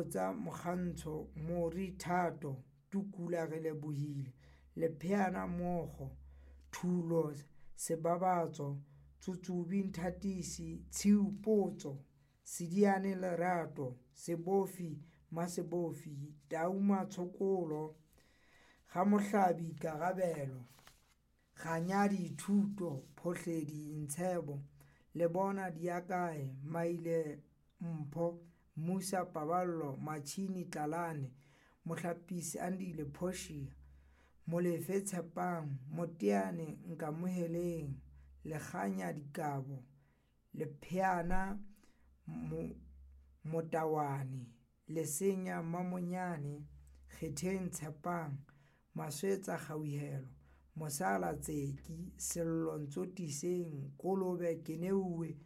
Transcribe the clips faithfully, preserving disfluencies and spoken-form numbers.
Mabotja Mokgantsho, More Thato, Tukula Relebohile, Lepheana Mookgo, Thulo Sebabatso, Tsutsubi Nthatisi, Tshiu Potso, Sediane Lerato, Sebofi Masebofi, Tau Matshokolo, Gamohlabi Karabelo, Ganyadi Thuto, Phohledi Ntshebo, Lebona Diakae, Maile Mpho, Musa Paballo, Machini Tlalane, Mohlapisi Andile Portia, Molefe Tshepang, Moteane Nkamoheleng, Lekganya Dikabo, Lepheana Motawane, Lesenya Mamonyane, Kgetheng Tshepang, Maswetsa Kgauhelo, Mosala Tseki, Sello Ntsotiseng, Kolobe Keneuwe,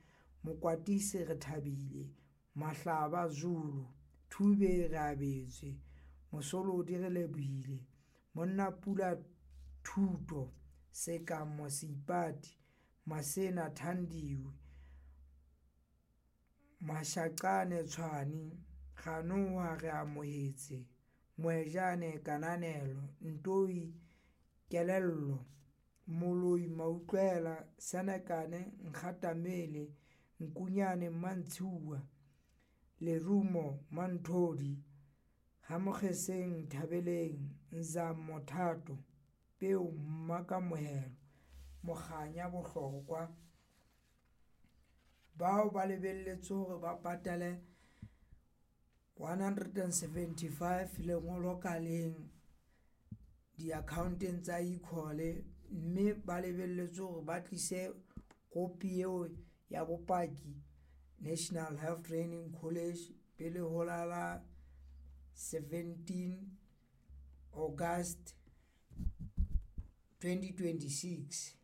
Mokwatisi Rethabile, Mahlaba Zulu, Thube Reabetswe, Mosolodi Relebohile, Monnapula Thuto, Sekamo Seipati, Masena Thandiwe, Mashaqane Tshwane, Ganoha Reamohetse, Moejane Kananelo, Ntoi Kelello, Moloi Mautlwela, Senekane Nkgatamele, Nkunyane Mantshua, Lerumo Manthodi, Gamokgeseng Nthabeleng, Nzamo Thato, Peo Mmakamohelo, Mokganya Bohlokwa. Bao ba lebelletswe hore ba patale one hundred and seventy five lengolo ka leng di-account-eng tsa e-call, mme ba lebelletswe hore ba tlise kopi eo ya bopaki National Health Training College pele ho la la seventeen August twenty twenty six.